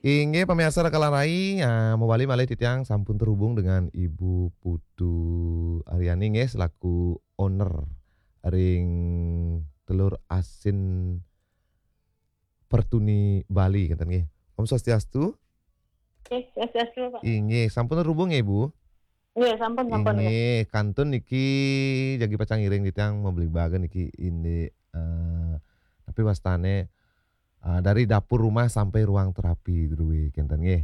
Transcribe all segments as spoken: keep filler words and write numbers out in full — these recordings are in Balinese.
Inggih, pamiarsa Rakalan Rai, ah, mawali malih titiang sampun terhubung dengan Ibu Putu Aryani nggih, selaku owner ring telur asin Pertuni Bali, ngéten nggih. Om Swastiastu. Oke, Swastiastu, Pak. Inggih, sampun terhubung nggih, Bu? Nggih, sampun, sampun, nggih. Inggih, kantun niki jagi pacang ngiring titiang mabligbagan niki indik, eh, napi wastané, eh, dari dapur rumah sampai ruang terapi drué, kénten nggih.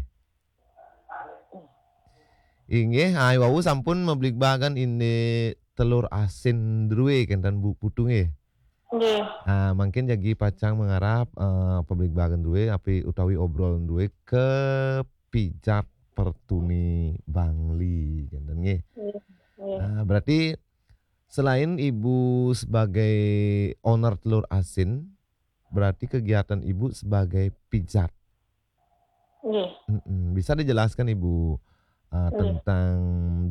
Inggih, ai wau sampun mabligbagan indik telur asin drué, kénten Bu Putu nggih. Nggih. Ah, mangkin jagi pacang mangarap, eh, pabligbagan drué, napi utawi obrol drué kapijat Pertuni Bangli, kénten nggih. Nggih, nggih. Ah, berarti selain Ibu sebagai owner telur asin, berarti kegiatan Ibu sebagai pijat. Nggih. Mm-mm. Bisa dijelaskan, Ibu, eh, Nggih. tentang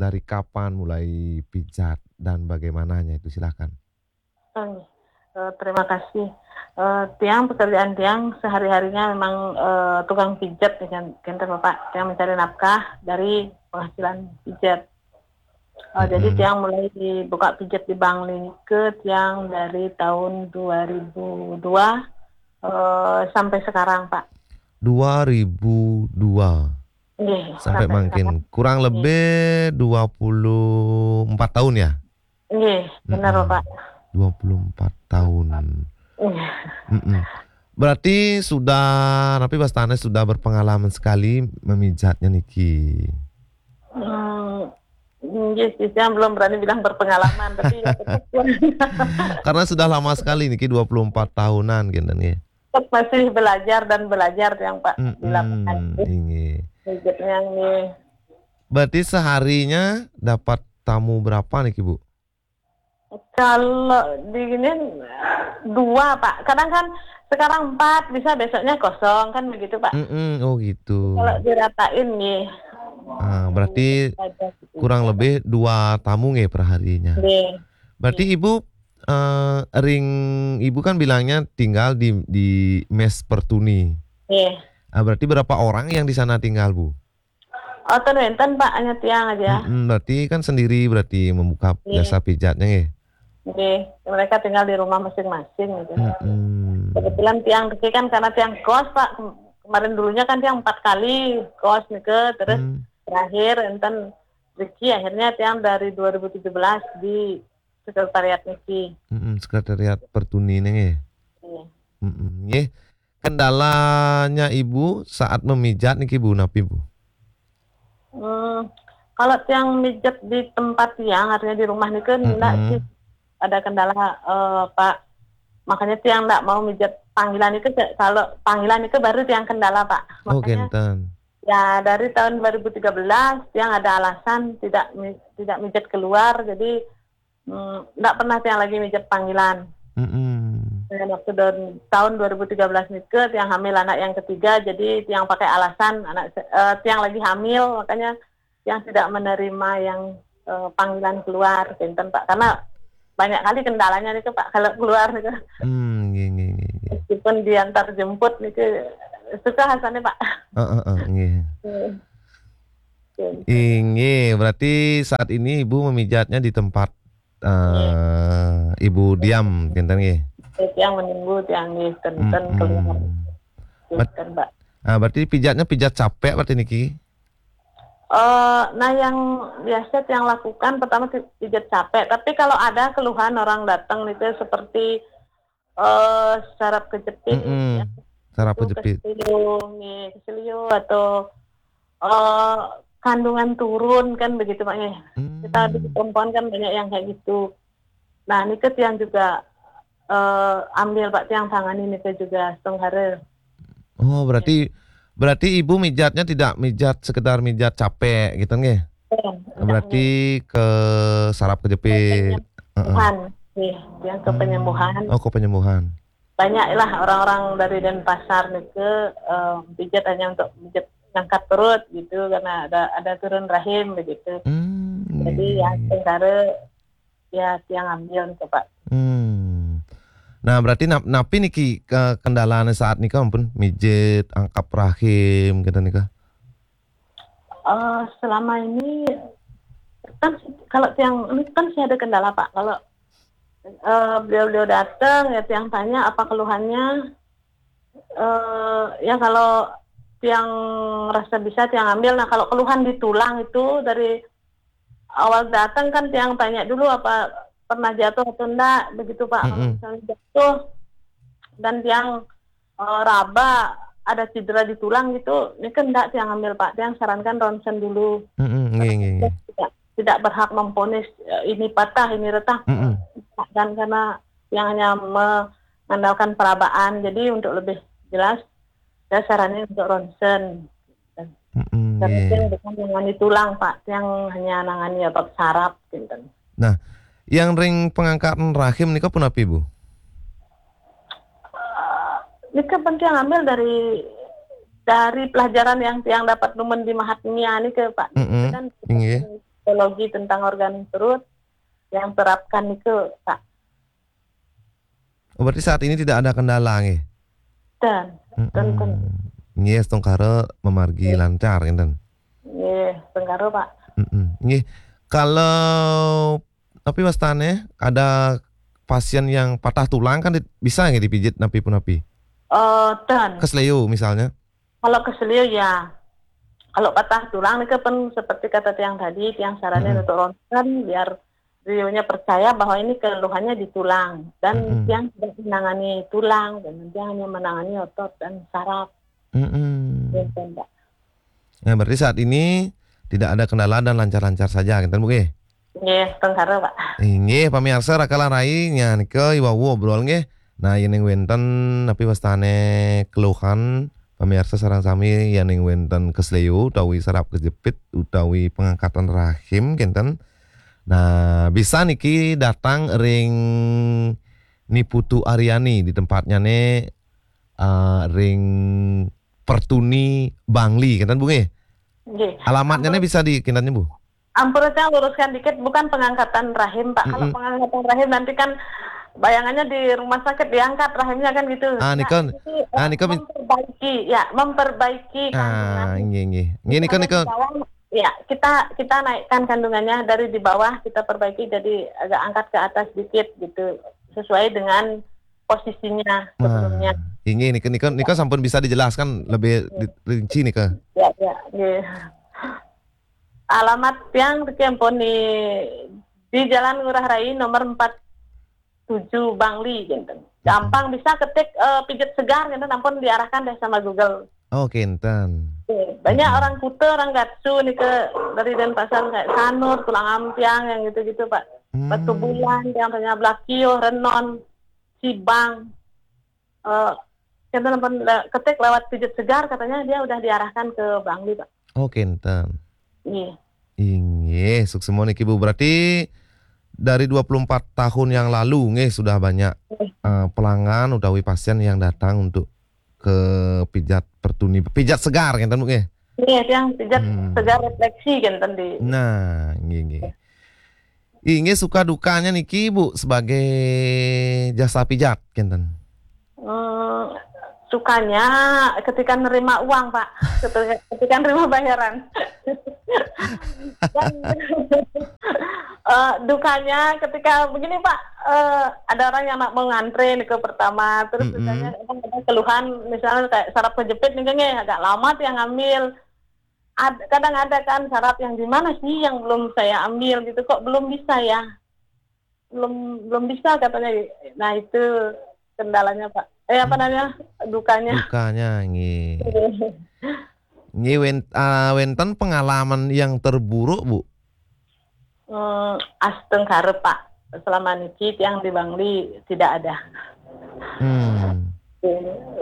dari kapan mulai pijat dan bagaimananya itu, silakan. Oh, nggih. Eh, terima kasih. Eh, tiang, pekerjaan tiang sehari-harinya memang, eh, tukang pijat, ya kan, kénten, Bapak. Tiang mencari nafkah dari penghasilan pijat. Eh, jadi Mm-mm. tiang mulai dibuka pijat di Bangli ke tiang dari tahun dua ribu dua, eh, sampai sekarang, Pak. Dua ribu dua. Nggih, Sampai sampai mangkin. sekarang. Kurang Nggih. lebih dua puluh empat tahun ya? Nggih, benar, Mm-mm. Bapak. Dua puluh empat tahun. Nggih. Mm-mm. Berarti sudah, napi wastané sudah berpengalaman sekali memijatnya niki. Hmm, nggih sih, saya belum berani bilang berpengalaman, tapi ya tetap Karena sudah lama sekali niki, dua puluh empat tahunan, kénten nggih. Tetap masih belajar dan belajar tiang, Pak, di Mm-mm, lapangan. Inggih. Pijatnya nggih. Berarti seharinya dapat tamu berapa niki, Bu? Kalau di gini, dua, Pak. Kadang kan sekarang empat, bisa besoknya kosong, kan begitu, Pak. Mm-mm, oh gitu. Kalau diratain, nggih. Ah, berarti Ada gitu. kurang lebih dua tamu nggih per harinya. Nggih. Berarti Nggih. Ibu, eh, ring Ibu kan bilangnya tinggal di, di mes Pertuni. Nggih. Ah, berarti berapa orang yang di sana tinggal, Bu? Oh, ten wénten, Pak, hanya tiang aja. Mm-mm, berarti kan sendiri berarti membuka Nggih. jasa pijatnya nggih? Nggih, mereka tinggal di rumah masing-masing gitu. Mm-mm. Kebetulan tiang riki kan karena tiang kos, Pak. Kem-, kemarin dulunya kan tiang empat kali kos nika, terus Hmm. terakhir enten riki akhirnya tiang dari dua ribu tujuh belas di sekretariat niki. Mm-mm, sekretariat Pertuni nggih. Iya. Mm-mm, nggih. Kendalanya Ibu saat memijat niki, Bu, napi, Bu? Hmm, kalau tiang mijat di tempat tiang, artinya di rumah nika, ndak Mm-mm. sih ada kendala, eh, Pak. Makanya tiang ndak mau mijat panggilan itu, kalau panggilan itu baru tiang kendala, Pak. Oh, Makanya, kénten. ya, dari tahun dua ribu tiga belas, tiang ada alasan tidak mi-, tidak mijat keluar, jadi, hmm, ndak pernah tiang lagi mijat panggilan. Mm-mm. Dan waktu tahun, tahun dua ribu tiga belas nika, tiang hamil anak yang ketiga, jadi tiang pakai alasan anak se-, eh, tiang lagi hamil, makanya tiang tidak menerima yang, eh, panggilan keluar, kénten, Pak. Karena banyak kali kendalanya nika, Pak, kalau keluar nika. Hmm, nggih, nggih, nggih, nggih. Meskipun diantar jemput nika, susah rasanya, Pak. Heeh, heeh, nggih. Nggih. Oke. Inggih, berarti saat ini Ibu memijatnya di tempat, Nggih. eh, Ibu diam, kénten nggih? Tiang menunggu, tiang nggih, ten, ten keluar. Mm-mm. Kénten, Pak. Ah, berarti pijatnya pijat capek berarti niki? Eh, nah, yang biasa tiang lakukan pertama pi-, pijat capek. Tapi kalau ada keluhan orang datang nika seperti, eh, saraf kejepit, Mm-mm. ya, Saraf itu kejepit. Keselio, nggih, keselio atau, eh, kandungan turun kan begitu, Pak, nggih. Kita di Hmm. perempuan kan banyak yang kayak gitu. Nah, nika tiang juga, eh, ambil, Pak, tiang tangani nika juga setunggara. Oh, berarti, berarti Ibu mijatnya tidak mijat sekedar mijat capek gitu nggih? Iya, tidak, Berarti nggih. Ke saraf kejepit. Heeh. Penyembuhan, nggih, yang ke Hmm. penyembuhan. Oh, ke penyembuhan. Banyaklah orang-orang dari Denpasar nika, eh, pijat hanya untuk pijat ngangkat perut gitu, karena ada, ada turun rahim begitu. Hmm, Jadi, iya, ya, iya. Sementara ya, tiang ambil nika, Pak. Hmm. Nah, berarti nap-, napi niki ke-, kendalanya saat nika ampun mijet, angkat rahim, gitu nika? Eh, selama ini kan kalau tiang ini kan sih ada kendala, Pak. Kalau eh, beliau-beliau datang ya tiang tanya apa keluhannya. Eh, ya kalau tiang rasa bisa tiang ambil. Nah, kalau keluhan di tulang itu dari awal datang kan tiang tanya dulu apa pernah jatuh atau enggak begitu, Pak. Kalau Mm-mm. misalnya jatuh dan tiang eh, raba ada cedera di tulang gitu, ini kan enggak tiang ambil, Pak. Tiang sarankan ronsen dulu. Mm-mm, nggih, nggih, nggih. Tidak, tidak berhak memvonis eh, ini patah, ini retak. Mm-mm. Dan karena yang hanya mengandalkan perabaan, jadi untuk lebih jelas saya saranin untuk ronsen. Mm-mm, Karena nggih. yang bukan menangani tulang, Pak, yang hanya nangani otot saraf, gitu. Yang ring pengangkatan rahim nika punapi, Bu? Eh, ini kan penting ambil dari dari pelajaran yang yang dapat numen di Mahatmya ini ke Pak. Mm-mm, Kan nggih. Psikologi tentang organ perut yang terapkan itu, Pak. Oh, berarti saat ini tidak ada kendala nggih. Dan Mm-mm. Nggih, astungkara mamargi lancar ngenten. Nggih, astungkara, Pak. Mm-mm. Nggih. Kalau napi wastane ada pasien yang patah tulang kan di-, bisa nggih dipijit napi punapi? Eh, dan Kesleo misalnya. Kalau kesleo ya, kalau patah tulang nika pun seperti kata tiang tadi, tiang saranin Mm-mm. untuk ronsen biar beliaunya percaya bahwa ini keluhannya di tulang dan Mm-mm. tiang tidak menangani tulang dan tiang hanya menangani otot dan saraf. Mm-mm. Gitu, Pak. Nah, berarti saat ini tidak ada kendala dan lancar-lancar saja, ngenten Bu nggih? Nggih, astungkara, Pak. Inggih, pamiarsa rakalan rai nya nika iwau obrol nggih. Nah, yen ing wenten napi wastane keluhan pamiarsa sareng sami yen ing wenten kesleo utawi saraf kejepit utawi pengangkatan rahim kenten. Nah, bisa niki datang ring Ni Putu Aryani di tempatnya ne eh, ring Pertuni Bangli kenten Bu nggih. Nggih. Alamatnya ne bisa di kenten Bu. Ampun, saya luruskan dikit, bukan pengangkatan rahim, Pak. Kalau Mm-mm. Pengangkatan rahim nanti kan bayangannya di rumah sakit diangkat rahimnya kan gitu. Ah, nika, Nah, ini, eh, ah, nika min- memperbaiki, ya, memperbaiki Ah, kandungan. nggih nggih. Nggih nika Misalnya nika. di bawah, ya, kita kita naikkan kandungannya dari di bawah, kita perbaiki jadi agak angkat ke atas dikit gitu, sesuai dengan posisinya sebelumnya. Nah, inggih nika nika nika sampun bisa dijelaskan lebih di-, rinci nika. Ya, ya, nggih. Alamat tiang niki ampun di di Jalan Ngurah Rai nomor empat tujuh Bangli gitu. Gampang bisa ketik eh, pijat segar gitu, ampun diarahkan deh sama Google. Oh, kenten. Oke, banyak Mm-mm. orang Kuta, orang Gatsu nih ke dari Denpasar kayak Sanur, Tulang Ampiang yang gitu-gitu, Pak. Hmm. Batu Bulan, yang tanya Blakio, Renon, Sibang. Eh, kita nonton le- ketik lewat pijat segar katanya dia udah diarahkan ke Bangli, Pak. Oh, kenten. Iya. Inggih, suksma niki Bu. Berarti dari dua puluh empat tahun yang lalu nggih sudah banyak eh, pelanggan utawi pasien yang datang untuk ke pijat Pertuni, pijat segar kenten Bu nggih. Iya, yang pijat Hmm. segar refleksi kan tadi. Nah, nggih nggih. Inggih, suka dukanya niki Bu sebagai jasa pijat kenten. Hmm, sukanya ketika nerima uang, Pak. Ketika, ketika nerima bayaran. Dan eh, dukanya ketika begini, Pak, eh, ada orang yang nak mau ngantre nih ke pertama, terus Mm-mm. misalnya kadang ada keluhan, misalnya kayak saraf kejepit nih, kayaknya agak lama tuh yang ngambil. Ad- kadang ada kan saraf yang di mana sih yang belum saya ambil gitu, kok belum bisa ya, belum belum bisa katanya. Nah, itu kendalanya, Pak. Eh, apa namanya, dukanya. Dukanya nggih. Nggih wen-, ah, wenten pengalaman yang terburuk Bu? Hmm, asteng karep, Pak. Selama niki tiang di Bangli tidak ada. Hmm.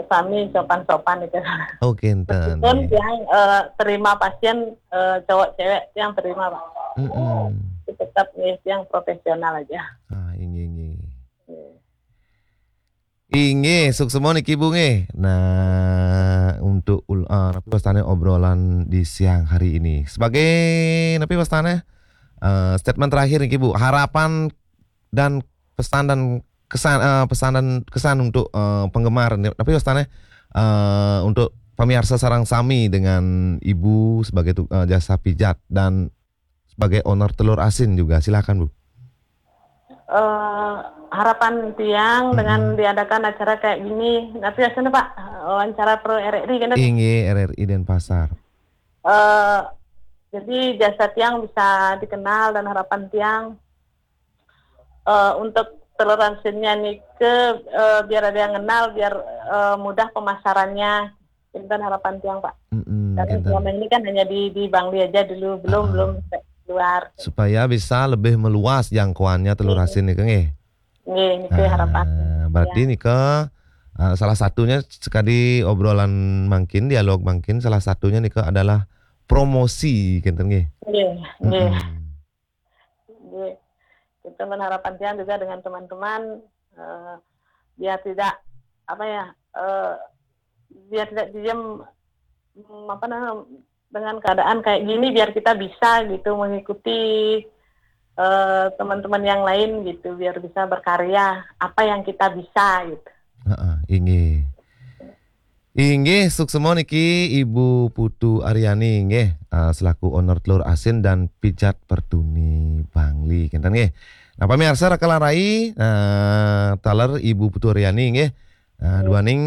Sami sopan-sopan itu. Oh, kenten. Meskipun tiang eh, terima pasien eh, cowok cewek tiang terima, Pak. Mm-mm. Tetap nih tiang profesional aja. Ah, inggih inggih. Inggih, suksma niki Bu nggih. Nah, untuk ul- ah, napi wastane obrolan di siang hari ini. Sebagai napi wastane eh, statement terakhir niki Bu, harapan dan pesan dan kesan eh, pesanan kesan untuk eh, penggemar ni. Tapi wastane eh, untuk pemirsa sareng sami dengan ibu sebagai tu, eh, jasa pijat dan sebagai owner telur asin juga. Silakan, Bu. Eh, harapan tiang dengan diadakan acara kayak gini, tapi biasanya Pak, wawancara pro R R I kan, Inggih, R R I Denpasar. Eh, jadi jasa tiang bisa dikenal dan harapan tiang eh, untuk telur asinnya nih ke eh, biar ada yang kenal, biar eh, mudah pemasarannya. Itu kan harapan tiang Pak. Mm-mm, Karena kinten. Selama ini kan hanya di di Bangli aja dulu, belum Ah. belum sampai keluar. Supaya bisa lebih meluas jangkauannya telur asin nih, nggih. Nggih, ini ke harapan. Ah, berarti nih ke ah, salah satunya sekali obrolan mangkin, dialog mangkin, salah satunya nih ke adalah promosi, kinten nggih. Nggih, nggih. Mm-mm. Nggih. Itu kan harapan tiang juga dengan teman-teman eh, biar tidak apa ya eh, biar tidak diem mm, apa namanya dengan keadaan kayak gini biar kita bisa gitu mengikuti eh, teman-teman yang lain gitu biar bisa berkarya apa yang kita bisa gitu. Heeh, inggih. Inggih, suksema niki Ibu Putu Aryani nggih, ah, selaku owner Telur Asin dan Pijat Pertuni Bangli, kinten nggih. Nah, pemirsa Raka Larai, nah, taler Ibu Putu Aryani nggih. Nah, duaning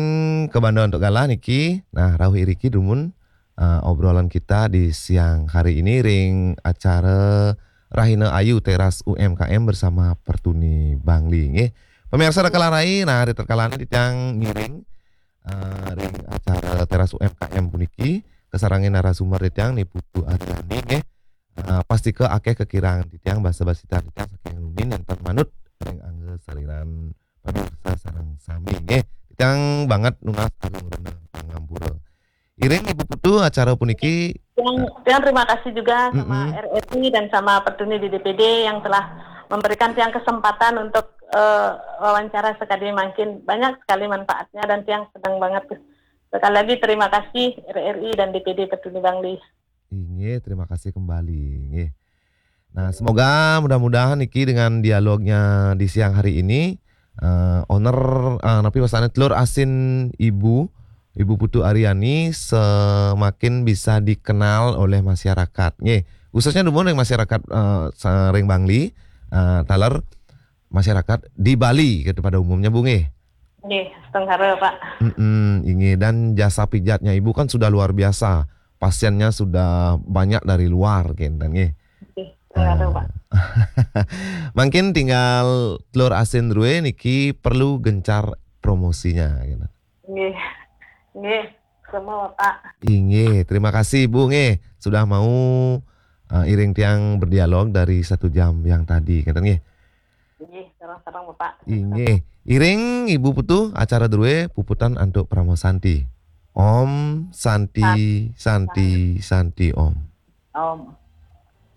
kabanda antuk galah niki. Nah, rauh iriki dumun ah, obrolan kita di siang hari ini ring acara Rahina Ayu Teras U M K M bersama Pertuni Bangli nggih. Pemirsa Raka Larai, nah, ritatkala niki titiang ngiring ah, ring acara Teras U M K M puniki kasarengin narasumber titiang Ni Putu Aryani nggih. Ah, pastika akeh kakirangan titiang basa-basi titiang saking rumiyin nenten manut ring angga sariran pemirsa sareng sami nggih. Titiang banget nunas agung rena pangampura. Iring Ibu Putu acara puniki Yang, yang terima kasih juga sama Mm-mm. R R I dan sama Pertuni di D P D yang telah memberikan tiang kesempatan untuk eh, wawancara sekali mungkin banyak sekali manfaatnya dan tiang senang banget. Sekali lagi terima kasih R R I dan D P D Pertuni Bangli. Inggih, terima kasih kembali nggih. Nah, semoga mudah-mudahan niki dengan dialognya di siang hari ini eh, owner eh, napi wastane Telur Asin Ibu Ibu Putu Aryani semakin bisa dikenal oleh masyarakat nggih. Khususnya dumun ring masyarakat eh, sa- ring Bangli eh, taler masyarakat di Bali gitu pada umumnya Bu nggih. Nggih, setengah Pak. Mm-mm, inggih dan jasa pijatnya Ibu kan sudah luar biasa. Pasiennya sudah banyak dari luar kinten nggih. Nggih, setengah Pak. Mungkin tinggal Telur Asin Rue niki perlu gencar promosinya gitu. Nggih. Nggih, semua Pak. Inggih, terima kasih Ibu nggih sudah mau eh, iring tiang berdialog dari satu jam yang tadi kinten nggih. Nggih, sareng-sareng Bapak. Inggih. Iring Ibu Putu acara Drue puputan antuk Parama Santi. Om Santi Santi Santi Om. Om.